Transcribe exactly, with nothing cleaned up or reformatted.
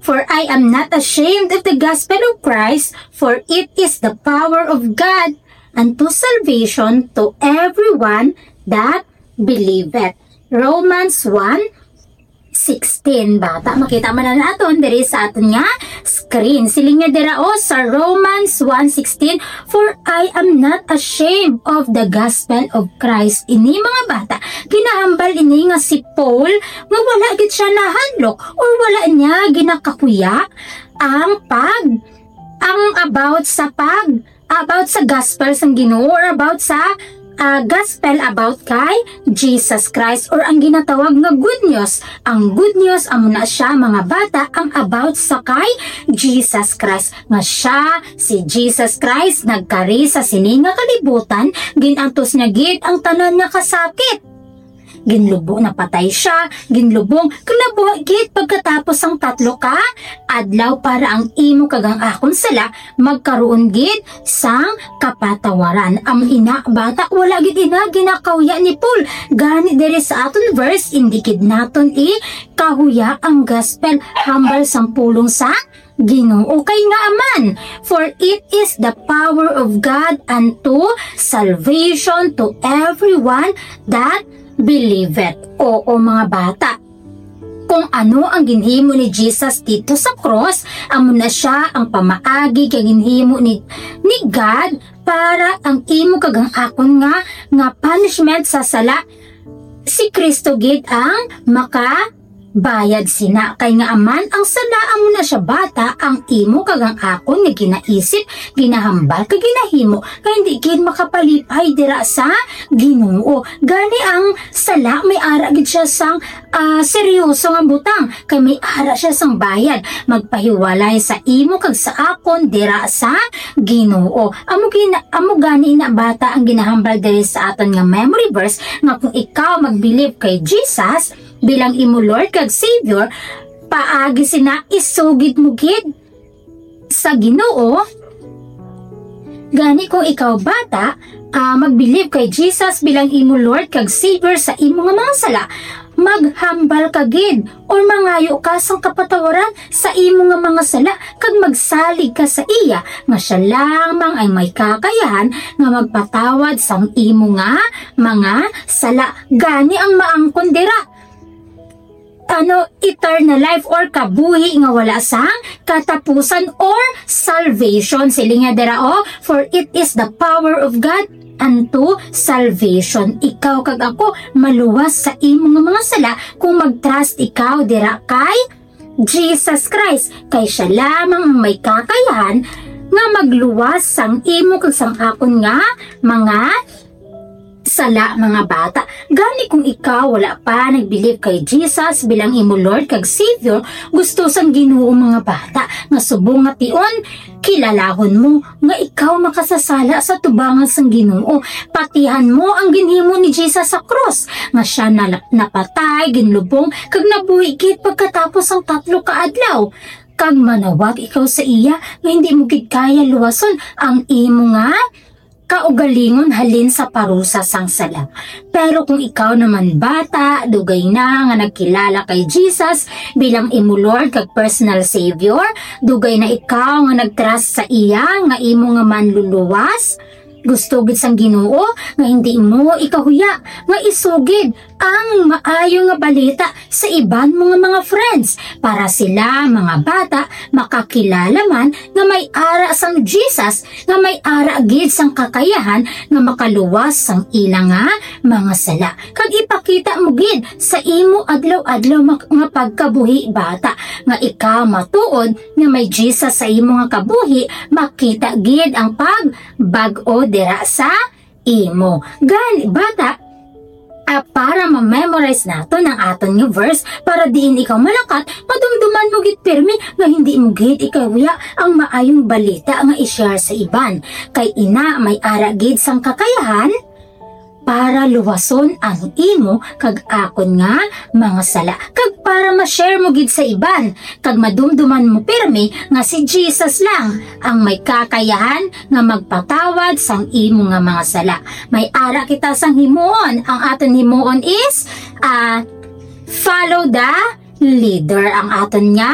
For I am not ashamed of the gospel of Christ, for it is the power of God unto salvation to everyone that believeth. Romans one sixteen. Bata, makita man na naton diri sa aton nga screen. Siling niya dira, o, sa Romans one sixteen, "For I am not ashamed of the gospel of Christ." Ini, mga bata, ginahambal ini nga si Paul nga wala gid siya nahadlok or wala niya ginakakuya ang pag, ang about sa pag, about sa gospel sang Ginoo or about sa, ah, gospel about kay Jesus Christ or ang ginatawag nga good news. Ang good news amo na siya, mga bata, ang about sa kay Jesus Christ, nga siya, si Jesus Christ, nagkari sa sini nga kalibutan, gin-antos niya gid ang tanan nga kasakit. Ginlubo, napatay siya, ginlubong, kag nabuhi gid pagkatapos sang tatlo ka adlaw para ang imo kag ang akon sala magkaroon gid sang kapatawaran. Ang ina, bata, wala gid ina ginakahuya ni Paul. Gani diri sa aton verse, indi gid naton ikahuya ang gospel, hambal sang pulong sa Ginoo kay nga aman, "For it is the power of God unto salvation to everyone that believeth." Oo, mga bata. Kung ano ang ginhimo ni Jesus dito sa cross, amo na siya ang pamaagi kay ginhimo ni, ni God para ang imo kag ang akon nga, nga punishment sa sala, si Cristo gid ang makabayad sina. Kay nga aman ang sala, amo na siya, bata, ang imo kag ang akon nga ginaisip, ginahambal kag ginahimo, kay hindi gid makapalipay dira sa Ginoo. Gani ang sala may ara gid siya sang, ah, seryoso nga butang, kay may ara siya sang bayad magpahiwalay sa imo kag sa akon dira sa Ginoo. Amo gina-, amo gani na, bata, ang ginahambal diri sa aton nga memory verse, nga kung ikaw magbilib kay Jesus bilang imo Lord kag Savior, paagi sina isugid mo gid sa Ginoo. Gani kung ikaw, bata, ah, magbilib kay Jesus bilang imo Lord kag Savior sa imo nga mga sala, maghambal ka gid or mangayo ka sang kapatawaran sa imo nga mga sala kag magsalig ka sa iya nga siya lamang ang may kakayahan nga magpatawad sang imo nga mga sala. Gani ang maangkon dira, ano, eternal life or kabuhi nga wala sang katapusan or salvation. Siling niya dira, o, "For it is the power of God unto salvation." Ikaw kag ako maluwas sa imo nga mga sala kung mag-trust ikaw dira kay Jesus Christ, kay siya lamang ang may kakayahan nga magluwas sang imo kag sang akon nga mga sala, mga bata. Gani kung ikaw wala pa nagbilib kay Jesus bilang imo Lord kag Savior, gusto sang Ginoo, mga bata, nga subong nga tion, kilalahon mo nga ikaw makasasala sa tubangan sang Ginoo. Patihan mo ang ginhimo ni Jesus sa krus, nga siya nala-, napatay, ginlubong, kag nabuhi gid pagkatapos sang tatlo ka adlaw. Kag manawag ikaw sa iya nga hindi mo gid kaya luwason ang imo nga kaugalingon halin sa parusa sang sala. Pero kung ikaw naman, bata, dugay na nga nagkilala kay Jesus bilang imo Lord kag personal Savior, dugay na ikaw nga nag-trust sa iya nga imo nga manluluwas, gusto gid sang Ginoo nga hindi mo ikahuya nga isugid ang maayo nga balita sa iban mo nga mga friends, para sila, mga bata, makakilala man nga may ara sang Jesus, nga may ara gid sang kakayahan nga makaluwas sang ila nga mga sala. Kag ipakita mo gid sa imo adlaw-adlaw mak-, nga pagkabuhi, bata, nga ikaw matuod nga may Jesus sa imo nga kabuhi, makita gid ang pagbag-o dira sa imo. Gani, bata, ah, para ma-memorize naton ang aton nga verse, para diin ikaw malakat, madumduman mo gid pirmi nga hindi mo gid ikahuya ang maayong balita nga i-share sa iban. Kay ina, may ara gid sang kakayahan para luwason ang imo kag akon nga mga sala, kag para ma-share mo gid sa iban, kag madumduman mo pirmi nga si Jesus lang ang may kakayahan nga magpatawad sang imo nga mga sala. May ara kita sang himuon. Ang aton himuon is, ah, follow the leader. Ang aton nga